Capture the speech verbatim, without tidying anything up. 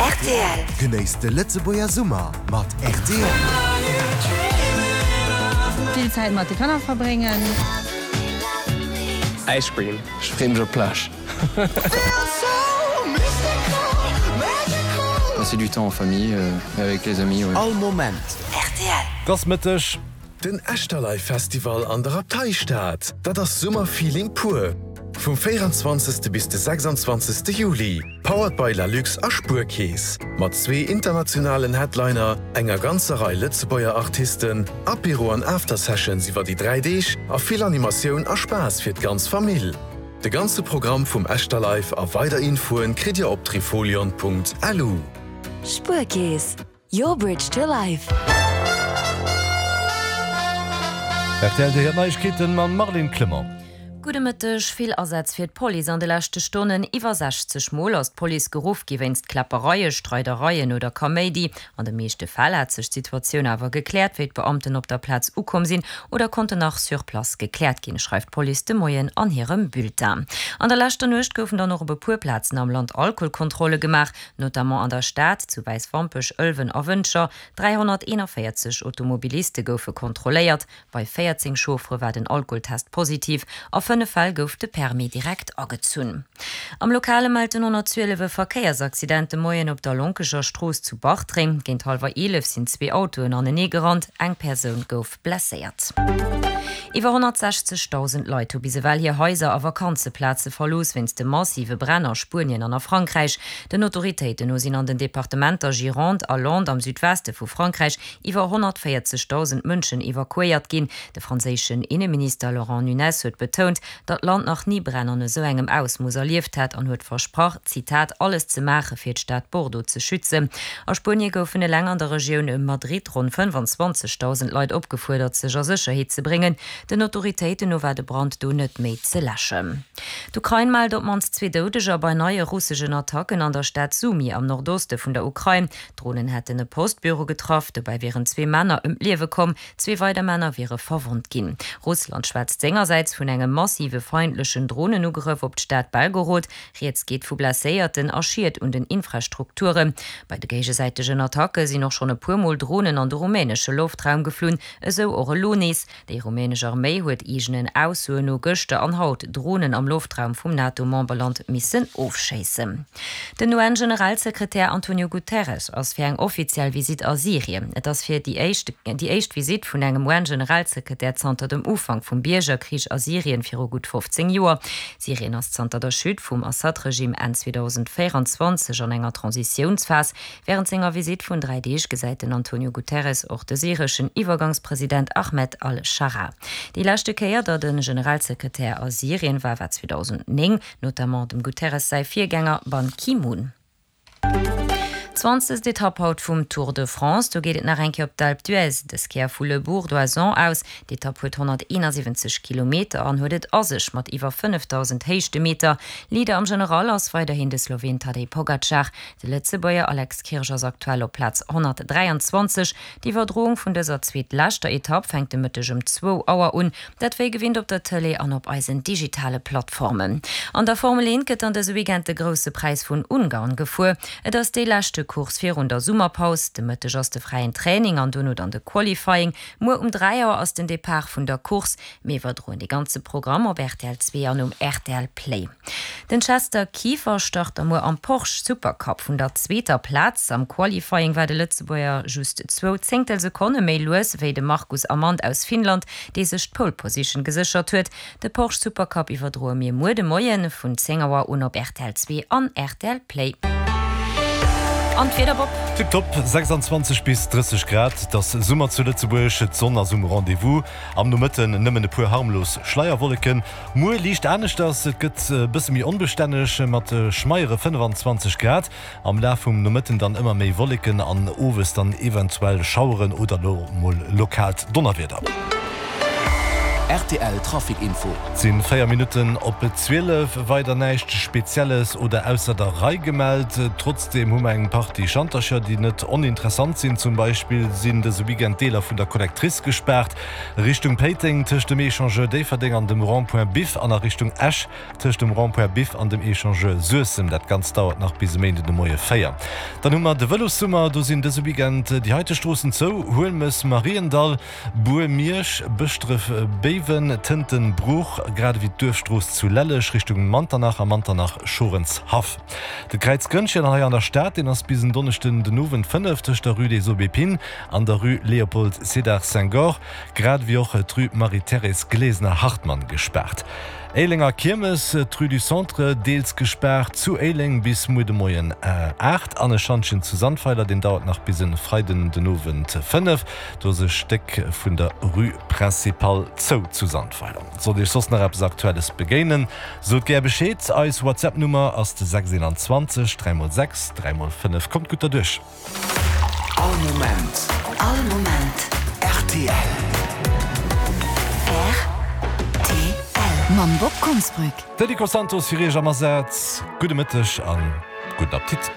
Rtl. Genéisst de Lëtzebuerger Summer mat rtl. Vill Zäit mat de Kanner verbréngen. Ice cream. Ech freeë mech op d'Plage. Passer du temps en famille et avec les amis, ouais. All Moment. Rtl. Et ass Mëtteg. Den Echterlive Festival an der Abteistad, dat ass Summerfeeling pur! Vum véieranzwanzegste bis de sechsanzwanzegste Juli, powered by Lalux a Spuerkeess, mat zwee internationalen Headliner, enger ganzer Rei Lëtzebuerger Artisten, Apéro an After-Sessions iwwer déi dräi Deeg a vill Animatioun a Spaass fir d'ganz Famill. De ganze Programm vum Echterlive a weider Infoen kritt Dir op trifolion.lu. Spuerkeess, your bridge to life. Rtl, Dir héiert Neiegkeeten mam Marlene Clement. Gudde Mëtteg, Vill Asätz fir d'Police an de leschte Stonnen. Iwwer sechzeg Mol ass d'Police geruff gi wéinst Kläppereien, Streidereien oder Kaméidi. An de meeschte Fäll hat sech d'Situatioun awer gekläert, wéi d'Beamten op der Plaz ukomm sinn oder konnten nach sur place gekläert ginn, schreift d'Police de Moien an hirem Bulletin. An der leschter Nuecht goufen dann och op e puer Plazen am Land Alkoholkontrolle gemaach, notamment an der Stad, zu Wäiswampech, Ëlwen a Wëntger. dräihonnerteenavéierzeg Automobiliste goufe kontrolléiert, bei véierzéng Chauffere war den Alkoholtest positiv, a fënnef Fäll gouf de Permis direkt agezunn. Am Lokale mellt den honnertzwielef e Verkéiersaccident de Moien op der Lonkecher Strooss zu Bartreng. Géint hallwer eelef sinn zwee Autoen anenee gerannt, eng Persoun gouf blesséiert. Iwwer honnertsechzegdausend Leit hu bis ewell hir Haiser a Vakanzeplaze verlooss wéinst de massive Bränn a Spuenien an a Frankräich. Den Autoritéiten no sinn an den Departementer Gironde a Landes am Südweste vu Frankräich iwwer honnertvéierzegdausend Mënschen evakuéiert ginn. De franséischen Inneminister Laurent Nunez huet betount, datt d'Land nach ni Bränn an esou engem Ausmooss erlieft hätt an huet versprach, Zitat, alles ze maache fir d'Stad Bordeaux ze schützen. A Spuenie goufen eleng an der Regioun ëm Madrid ronn fënnefanzwanzegdausend Leit opgefuerdert, sech a Sécherheet ze bréngen. Den Autoritéiten no war de Brand do net méi ze läschen. D'Ukrain mellt op d'mannst zwee Doudeger bei neie russeschen Attacken an der Stad Sumy am Nordoste vun der Ukrain. Dronen hätten e Postbüro getraff, dobäi wieren zwee Männer ëm d'Liewe komm, zwee weider Männer wiere verwonnt ginn. Russland schwätzt sengersäits vun engem massive feindlechen Dronenugrëff op d'Stad Belgorod. Rieds geet vu Blesséierten a Schied un den Infrastrukturen. Bei de géigesäitegen Attacke sinn och schonn e puer Mol Dronen an de rumänesche Loftraum geflunn, esou och elo nees. Déi rumänesch Arméi huet eegenen Aussoen no gëschter an haut Dronen am Loftraum vum NATO-Memberland missen ofschéissen. Den U N-Generalsekretär Antonio Guterres ass fir eng offiziell Visitt a Syrien. Et ass fir déi éischt déi éischt Visitt vun engem U N-Generalsekretär zanter dem Ufank vum Biergerkrich a Syrien viru gutt fofzéng Joer. Syrien ass zanter der Chute vum Assad-Regime Enn zweedausendvéieranzwanzeg an enger Transitiounsphas. Wärend senger Visitt vun dräi Deeg gesäit den Antonio Guterres och de syreschen Iwwergangspresident Ahmed al-Scharaa. Déi leschte Kéier, datt e Generalsekretär a Syrien war, war zweedausendnéng, notamment dem Guterres säi Virgänger Ban Ki-moon. Zwanzegst Etapp haut vum Tour de France, do geet et nach eng Kéier op d'Alpe d'Huez, dës Kéier vu Le Bourg d'Oisans aus. D'Etapp huet honnerteenasiwwenzeg Kilometer an huet et a sech mat iwwer fënnefdausend Héichtemeter. Leader am General ass weiderhin de Sloween Tadej Pogacar. De Lëtzebuerger Alex Kirsch ass aktuell op Plaz honnertdräianzwanzeg. D'Iwwerdroung vun dëser zweetleschter Etapp fänkt de Mëtteg ëm zwou Auer un, dat wéi gewinnt op der Tëlee an op eisen digitale Plattformen. An der Formel eent gëtt an dëse Weekend de Grousse Präis vun Ungarn gefuer. Et ass déi leschte Course virun der Summerpaus. De Mëtteg ass de fräien Training an dono dann de Qualifying. Muer um dräi Auer ass den Depart vun der Course. Mir iwwerdroen de ganze Programm op R T L zwee an um R T L Play. Den Chester Kieffer start da muer am Porsche Supercup vun der zweeter Plaz. Am Qualifying war de Lëtzebuerger just zwou Zéngtelsekonne méi lues wéi de Marcus Amand aus Finnland, dee sech d'Pole Position geséchert huet. De Porsche Supercup iwwerdroe mir muer de Moie vun zéng Auer un op R T L zwee an R T L Play. An d'Wieder, Bob? Tiptop, sechsanzwanzeg bis drësseg Grad, et ass Summer zu Lëtzebuerg, d'Sonn ass um Rendez-vous. Am Nomëtten nëmmen e puer harmlos Schleierwolleken. Muer liicht aneschters, et gëtt e bësse méi onbestänneg mat schmeiere fënnefanzwanzeg Grad. Am Laf vum Nomëtten dann ëmmer méi Wolleken an owes dann eventuell Schaueren oder mol lokaalt Donnerwieder. Rtl Trafic Info. Et sinn véier Minutten op zwielef. Weider näischt Spezielles oder ausser der Rei gemellt. Trotzdeem hu mer eng Partie Schantercher, déi net oninteressant sinn. Zum Beispill sinn dëse Weekend Deeler vun der Collectrice gespaart, Richtung Péiteng tëscht dem Echangeur Déifferdeng an dem Rond-point Biff an a Richtung Esch tëscht dem Rond-point Biff an dem Echangeur Suessem. Dat Ganzt dauert nach bis e Méinden de Moie véier. Dann hu mer de Vëlossummer. Do sinn dëse Weekend déi heite Stroossen zou, Huelmes, Mariendall, Bur, Miersch, Bëschdref, Béiwen, Tënten, Bruch, grad ewéi d'Duerfstrooss zu Lelleg Richtung Manternach a Manternach, Schorenshaff. De Kräiz Grënnchen hei an der Stad, deen ass bis en Donneschden den Owend fënnef tëscht der Rue des Aubépines an der Rue Léopold Sédar Senghor, grad ewéi och d'Rue Marie-Thérèse Glesener-Hartmann gespaart. Éilenger Kiermes, d'Rue du Centre deels gespaart zu Éileng bis muer de Moien aacht an e Schantjen zu Sandweiler, deen dauert nach bis e Freiden den Owend fënnef. Do ass e Stéck vun der Rue Principale zou zu Sandweiler. Sollt Iech soss nach eppes Aktuelles begéinen, sot gär Bescheed. Eis WhatsApp-Nummer ass de sechs eenanzwanzeg dräi mol sechs dräi mol fënnef. Kommt gutt derduerch! All Moment. All Moment. Rtl. Rtl. Mam Bob Konsbrück. De Nico Santos fir Iech am Asaz. Gudde Mëtteg an gudden Appetit.